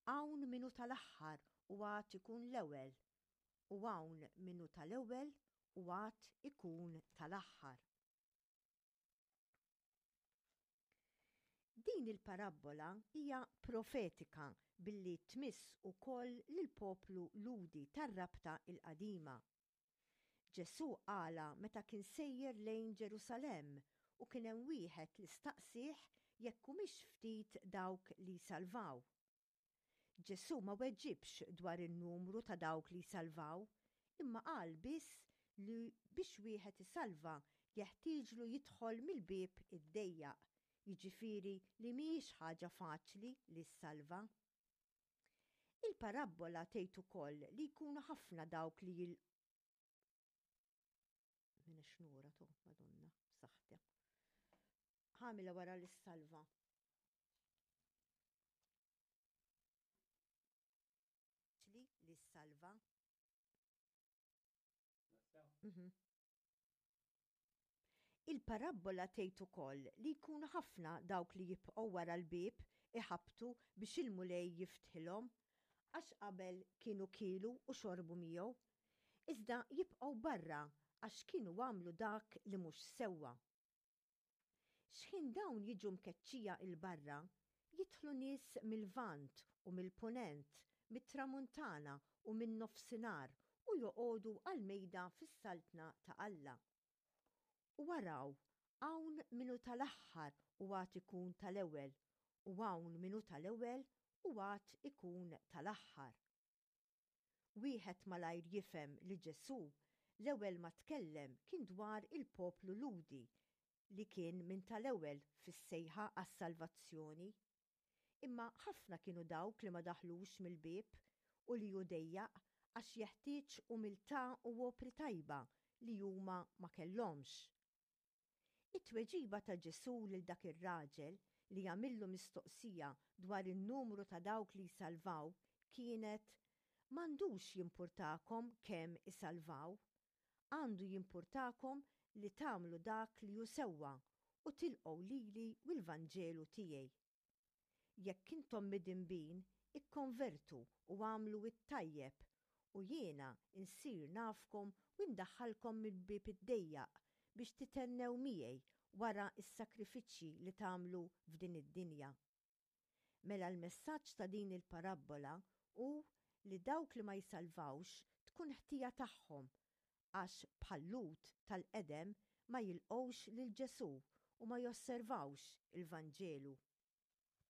Hawn min hu tal-aħħar u għad ikun l-ewwel, u hawn min hu tal-ewwel u għad ikun tal-aħħar. Din il-parabbola hija profetika billi tmiss ukoll lill-poplu Lhudi tar-Rabta l-Qadima. Ġesù qalha meta kien sejjer lejn Ġerusalemm u kien hemm wieħed li staqsieh jekk humiex ftit dawk li jsalvaw. Ġesù ma weġibx dwar in-numru ta' dawk li jsalvaw, imma qal biss li biex wieħed isalva jeħtieġlu jidħol mill-bieb id-dejjaq, jiġifieri li mhijiex ħaġa faċli li ssalva. Il-parabbola tgħid ukoll li jkunu ħafna dawk li jil Minn xnura to, Madonna, saħta. Ħamila wara l-salva. Li li salva. Mhm. Il-parabbola tgħid ukoll li jkunu ħafna dawk li jibqgħu wara l-bieb iħabbtu biex il-Mulej jiftħilhom, għax qabel kienu kielu u xorbu miegħu, iżda jibqgħu barra għax kienu għamlu dak li mhux sewwa. X'ħin dawn jiġu mkeċċija 'l barra, jidħlu nies mil-Lvant u mill-Punent, mit-Tramuntana u min-Nofsinhar u joqogħdu għall-mejda fis-Saltna ta' Alla. U araw, hawn min hu tal-aħħar u għad ikun tal-ewwel, u hawn min hu tal-ewwel u għad ikun tal-aħħar. Wieħed malajr jifhem li Ġesù l-ewwel ma tkellem kien dwar il-poplu Lhudi li kien minn tal-ewwel fis-sejħa għas-salvazzjoni. Imma ħafna kienu dawk li ma daħlux mill-bieb u li hu dejjaq għax jeħtieġ umiltà u opri tajba li huma ma kellhomx. It-tweġiba ta' Ġesù lil dak ir-raġel li għamillu mistoqsija dwar in-numru ta' dawk li jsalvaw kienet, M'għandux jimpurtakom kemm isalvaw. Għandu jimpurtakom li tagħmlu dak li hu sewwa u tilqgħu lili u l-Vanġelu tiegħi. Jekk intom midinbin, ikkonvertu u agħmlu t-tajjeb, u jiena nsir nafkom u ndaħħalkom mill-bieb id-dejjaq biex tithennew miegħi wara s-sagrifiċċji li tagħmlu f'din id-dinja. Mela l-messaġġ ta' din il-parabbola hu li dawk li ma jsalvawx tkun ħtija tagħhom għax bħal-Lhud tal-qedem ma jilqgħux lil Ġesù u ma josservawx il-Vanġelu.